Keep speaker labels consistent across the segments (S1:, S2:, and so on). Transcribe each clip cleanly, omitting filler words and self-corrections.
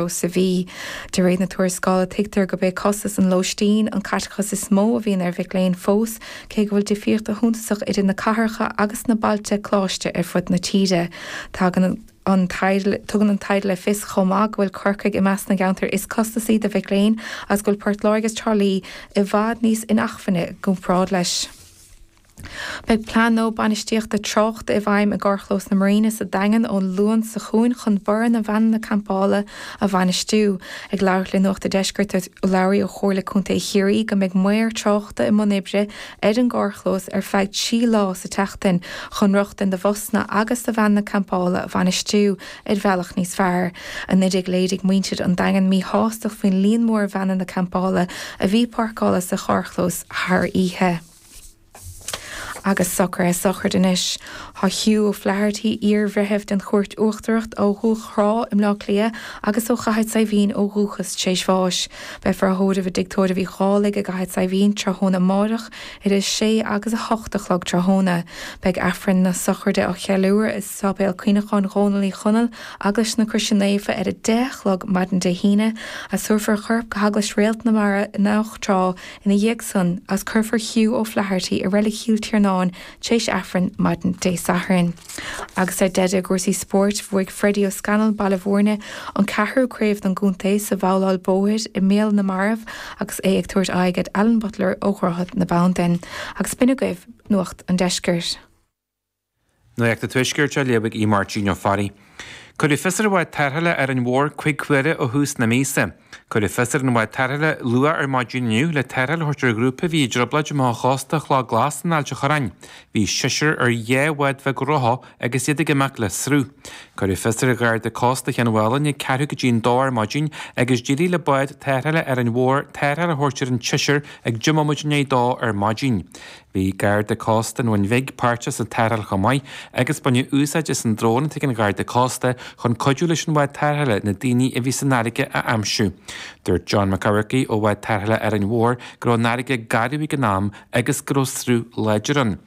S1: Sa mhí. De réir na tuarascála, tuigtear gurb é costas an lóistín an caiteachas is mó a bhíonn ar mhic léinn fós, cé go bhfuil difríocht shuntasach idir na cathracha agus na bailte coláiste ar fud na tíre. Tagann an Tugann an taighde le fios chomh maith go bhfuil Corcaigh i measc na gceantar is costasaí do mhic léinn agus go bhfuil Port Láirge agus Trá Lí i bhfad níos inacmhainne i gcomparáid leis. Beidh plean nua bainistíochta tráchta i bhfeidhm i gcarrchlós na Marina sa Daingean ón Luan seo chugainn chun borradh na veaineanna campála a bhainistiú. Ag labhairt le Nuacht a' Deiscirt dúirt urlabhraí ó Chomhairle Contae Chiarraí go mbeidh maor tráchta i mbun oibre ar an gcarrchlós ar feadh 3 lá sa tseachtain chun rochtain do bhusanna agus do veaineanna campála a bhainistiú ar bhealach níos fearr. Anuraidh léirigh muintir an Daingin míshástacht faoin líon mór veaineanna campála a bhí páirceáilte sa charrchlós thar oíche. Agus socruithe sochraide anois. Tá Hugh O'Flaherty, iar-bhreitheamh den Chúirt Uachtarach ó Dhumhach Thrá i mBleá Cliath agus ó Chathair Saidhbhín ó dhúchas, tar éis bháis. Beifear á thórramh i dTigh Tórraimh Uí Dhálaigh i gCathair Saidhbhín tráthnóna amáireach idir 6 agus 8 a chlog tráthnóna. Beidh Aifreann na sochraide á cheiliúradh i Sáipéal Cuimhneacháin Dhónaill Uí Chonaill, Eaglais na Croise Naofa ar 10 a chlog maidin Dé hAoine agus tabharfar a chorp go hEaglais Réalt na Mara i nDumhach Trá Ina dhiaidh san, agus cuirfear Hugh O'Flaherty i Reilig Chill Tiarnáin tar éis Aifrinn maidin Dé Sathairn. Agus ar deireadh i gcúrsaí spóirt, bhuaigh Freddie O'Scannell, Baile Bhúirne, an ceathrú craobh don gcontae sa bhabhláil bóthair i mBéal na Marbh agus é ag tabhairt aghaidh ar Alan Butler ó Dhroichead na Bandan. Agus b'in agaibh Nuacht an Deiscirt.
S2: Nuacht an Tuaiscirt á léamh ag Aodh Máirtín Ó Fearraigh. Cuireadh fios ar bhád tarrthála Árainn Mhór 5 huaire ó thús na míosa. Cuireadh fios ar an bhád tarrthála luath ar maidin inniu le tarrtháil a thabhairt ar ghrúpa a bhí i dtrioblóid amach ó chósta Chloch Glas in Ailt an Chorráin. Bhí seisear ar dhá bhád bheag rotha agus iad ag imeacht le sruth. Cuireadh fios ar Gharda Cósta Chionn Mhálanna ag ceathrú go dtí an dó ar maidin agus d'éirigh le bád tarrthála Árainn Mhór tarrtháil a thabhairt ar an tseisear ag deich mbomaite i ndiaidh a dó ar maidin. Bhí Garda Cósta an Bhun Bhig páirteach sa tarrtháil chomh maith agus baineadh úsáid as an drón atá ag an Gharda Cósta chun cuidiú leis an bhád tarrthála na daoine a bhí san fharraige a aimsiú. Dúirt John Mac Eamharcaigh ó bhád tarrthála Árainn Mhór go raibh an fharraige garbh ag an am agus go raibh sruth láidir ann.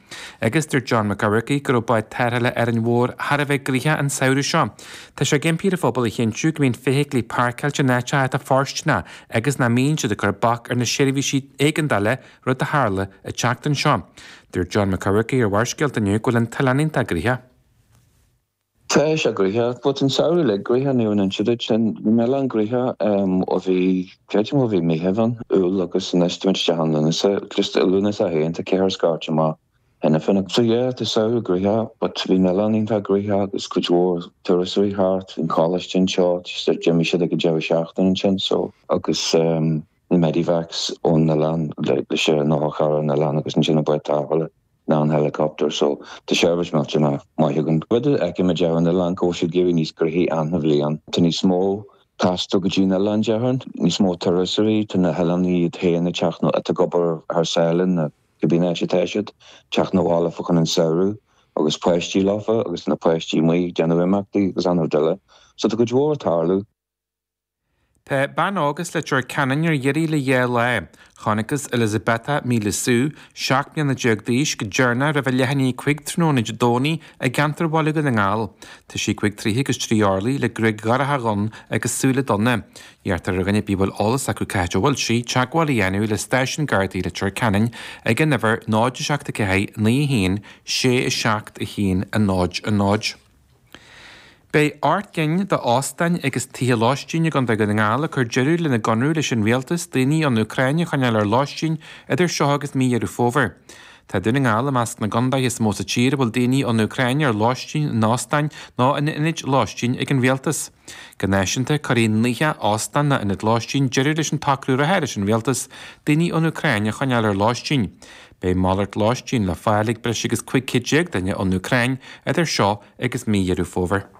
S2: Agus dúirt John Mac Eamharcaigh go raibh bád tarrthála Árainn Mhór thar a bheith gnoitheach an samhradh seo. Tá sé ag impí ar an phobal a chinntiú go mbíonn feithiclí páirceáilte in áiteacha atá fóirsteanach agus nach mbíonn siad ag cur bac ar na seirbhísí éigeandála rud a tharla an tseachtain seo. Dúirt John Mac Eamharcaigh ar Bharrscéalta inniu go bhfuil an t-oileán iontach gnoitheach.
S3: Tá sé gnoitheach, but an samhradh uilig gnoitheach, ní raibh an oiread sin, bhí an oileán gnoitheach ó bhí, creidim ó bhí Meitheamh ann, Iúil agus anois táimid isteach in Lúnasa, just i Lúnasa féin tá ceithre scairteadh amach cheana féin. So yeah, tá samhradh gnoitheach, but bhí an oileán iontach gnoitheach agus cuid mhór turasóirí thart, bhí an coláiste anseo, just d'imigh siad ag an deireadh seachtaine ansin, so agus ehm. na medivacs ón oileán leis an otharcharr ón oileán agus ansin an bád tarrthála ná an helicopter so tá seirbhís millteanach maith againn. Rud a fheicimid ar an oileán go bhfuil siad ag éirí níos gnoithí achan bhliain. Tá níos mó taisteal go dtí an oileán déarfainn, níos mó turasóirí, tá na hoileánaigh iad féin ag teacht nó atá ag obair thar sáile nó cibé áit atá siad, teacht 'na bhaile fá choinne an samhradh agus páistí leofa agus na páistí amuigh ag déanamh imeachtaí agus an-chuid eile. So tá cuid mhór ag tarlú.
S2: Tá bean óg as Leitir Ceanainn ar iarraidh le dhá lá. Chonacthas Elizabeta Milisu, 17 mbliana d'aois, go deireanach roimh a leath i ndiaidh 5 tráthnóna Dé Domhnaigh i gceantar Bhaile Dhún na nGall. Tá sí cúig troithe agus trí orlaí le gruaig dhorcha dhonn agus súile donna. Iarrtar ar dhuine ar bith a bhfuil eolas acu cá háit a bhfuil sí, teagmháil a dhéanamh le Stáisiún Gardaí Leitir Ceanainn ag an uimhir 0 7 4 9 1 6 7 1 0 0. Beidh 8 gcinn d'óstáin agus tithe lóistín i gContae Dhún na nGall ag cur deireadh lena gconradh leis an Rialtas daoine ón Úcráin a choinneáil ar lóistín idir seo agus mí Dheireadh Fómhair. Tá Dún na nGall i measc na gcontaetha is mó sa tír a bhfuil daoine ón Úcráin ar lóistín in óstáin nó in ionaid lóistín ag an Rialtas. Go náisiúnta, cuirfidh 90 óstán nó ionad lóistín deireadh leis an tsocrú reatha leis an Rialtas daoine ón Úcráin a choinneáil ar lóistín. Beidh malairt lóistín le fáil ag breis agus 15 céad duine ón Úcráin idir seo agus mí Dheireadh Fómhair.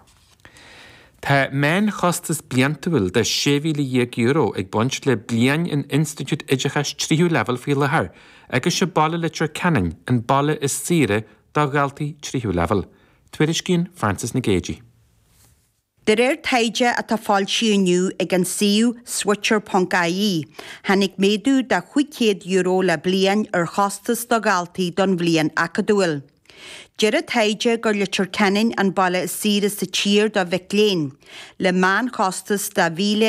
S2: Tá meánchostas bliantúil de €16,000 ag baint le bliain in institiúid oideachais tríú leibhéal faoi láthair agus sé baile Leitir Ceanainn an baile is saoire do dhaltaí tríú leibhéal. Tuairiscíonn Frances Nic Géadaigh.
S4: De réir taighde atá foilsithe inniu ag an suíomh Switcher.ie, tháinig méadú de €500 le bliain ar chostas do dhaltaí don bhliain acadúil. Deir an taighde gur Leitir Ceanainn an baile is saoire sa tír do mhic léinn, le meánchostas de.